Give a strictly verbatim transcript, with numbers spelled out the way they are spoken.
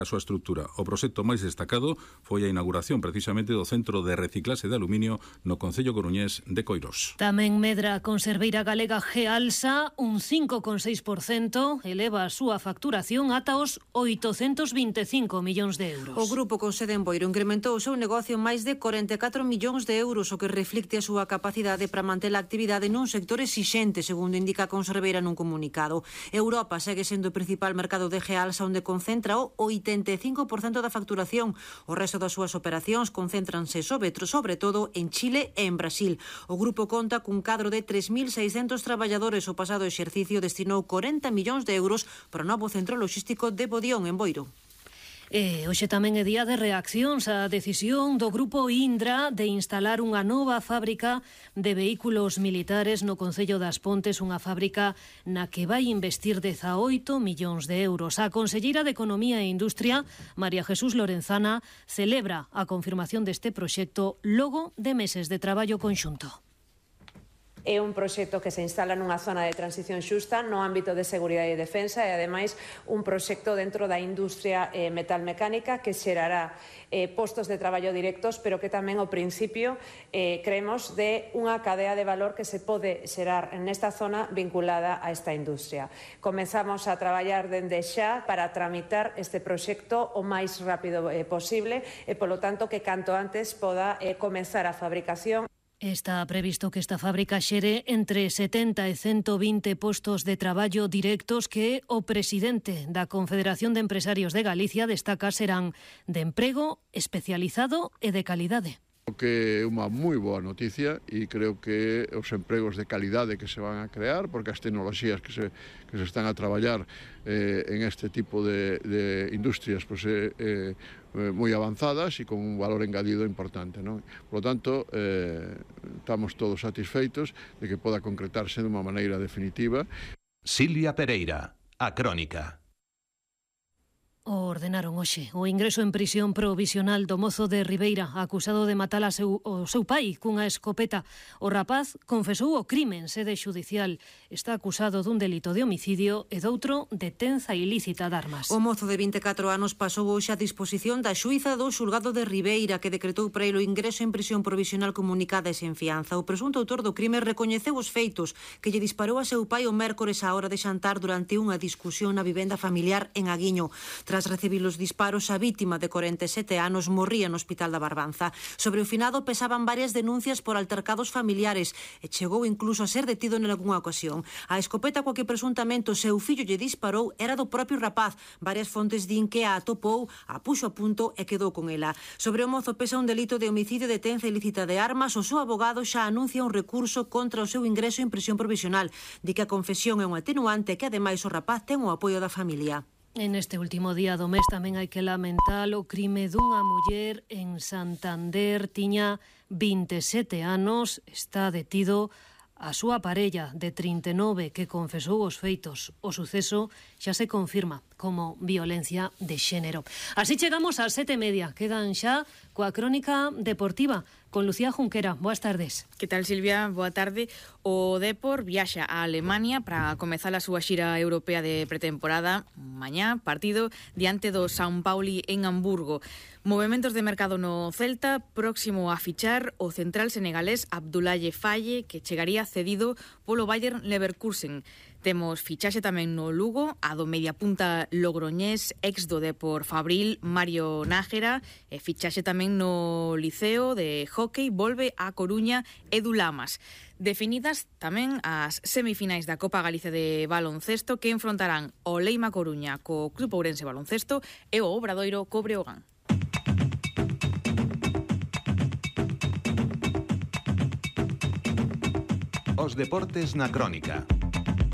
a súa estrutura. O proxecto máis destacado foi a inauguración precisamente do Centro de Reciclaxe de Aluminio no concello coruñés de Coirós. Tamén medra a conserveira galega Gealsa un cinco coma seis por cento, eleva a súa facturación ata os oitocentos vinte e cinco millóns de euros. O grupo con sede en Boiro incrementou o seu negocio en máis de corenta e catro millóns de euros, o que reflicte a súa capacidade para manter a actividade nun sector exixente, segundo indica a conserveira nun comunicado. Europa segue sendo o principal mercado de Gealsa, onde concentra o oitenta e cinco por cento da facturación. O resto das súas operacións concéntranse sobre, sobre todo en Chile e en Brasil. O grupo conta cun cadro de tres mil seiscentos traballadores. O pasado exercicio destinou corenta millóns de euros para o novo centro logístico de Bodión, en Boiro. E hoxe tamén é día de reaccións á decisión do grupo Indra de instalar unha nova fábrica de vehículos militares no concello das Pontes, unha fábrica na que vai investir dezaoito millóns de euros. A conselleira de Economía e Industria, María Jesús Lorenzana, celebra a confirmación deste proxecto logo de meses de traballo conxunto. É un proxecto que se instala nunha zona de transición xusta no ámbito de seguridade e defensa e, ademais, un proxecto dentro da industria eh, metalmecánica que xerará eh, postos de traballo directos, pero que tamén, ao principio, eh, creemos de unha cadea de valor que se pode xerar nesta zona vinculada a esta industria. Comezamos a traballar dende xa para tramitar este proxecto o máis rápido eh, posible e, polo tanto, que canto antes poda eh, comenzar a fabricación. Está previsto que esta fábrica xere entre setenta e ciento vinte postos de traballo directos que o presidente da Confederación de Empresarios de Galicia destaca serán de emprego especializado e de calidade. Que é unha moi boa noticia e creo que os empregos de calidade que se van a crear, porque as tecnoloxías que se, que se están a traballar eh, en este tipo de, de industrias pues, eh, eh, moi avanzadas e con un valor engadido importante, non? Por lo tanto, eh, estamos todos satisfeitos de que poda concretarse de unha maneira definitiva. Silvia Pereira, a Crónica. O ordenaron hoxe o ingreso en prisión provisional do mozo de Ribeira acusado de matar a seu, o seu pai cunha escopeta. O rapaz confesou o crime en sede xudicial. Está acusado dun delito de homicidio e doutro de tenza ilícita de armas. O mozo de vinte e catro anos pasou hoxe a disposición da xuíza do xulgado de Ribeira, que decretou para ele o ingreso en prisión provisional comunicada e sen fianza. O presunto autor do crime recoñeceu os feitos que lle disparou a seu pai o mércores á hora de xantar durante unha discusión na vivenda familiar en Aguiño. Tras recibir os disparos, a vítima de corenta e sete anos morría no Hospital da Barbanza. Sobre o finado pesaban varias denuncias por altercados familiares e chegou incluso a ser detido en algunha ocasión. A escopeta coa que presuntamente o seu fillo lle disparou era do propio rapaz. Varias fontes din que a atopou, a puxo a punto e quedou con ela. Sobre o mozo pesa un delito de homicidio de tenza ilícita de armas. O seu abogado xa anuncia un recurso contra o seu ingreso en prisión provisional. Di que a confesión é un atenuante e que ademais o rapaz ten o apoio da familia. En este último día do mes tamén hai que lamentar o crime dunha muller en Santander. Tiña vinte e sete anos, está detido a súa parella de trinta e nove que confesou os feitos. O suceso xa se confirma como violencia de xénero. Así chegamos ás sete e media. Quedan xa coa crónica deportiva con Lucía Junquera. Boas tardes. Que tal, Silvia? Boa tarde. O Depor viaxa a Alemania para comezar a súa xira europea de pretemporada. Mañá, partido diante do São Paulo en Hamburgo. Movementos de mercado no Celta, próximo a fichar o central senegalés Abdoulaye Faye, que chegaría cedido polo Bayer Leverkusen. Temos fichaxe tamén no Lugo, a do mediapunta logroñés, ex do Depor Fabril, Mario Nájera, e fichaxe tamén no Liceo de Hockey, volve a Coruña, Edu Lamas. Definidas tamén as semifinais da Copa Galicia de baloncesto que enfrontarán o Leima Coruña co Club Ourense Baloncesto e o Obradoiro co Breogán. Os deportes na Crónica.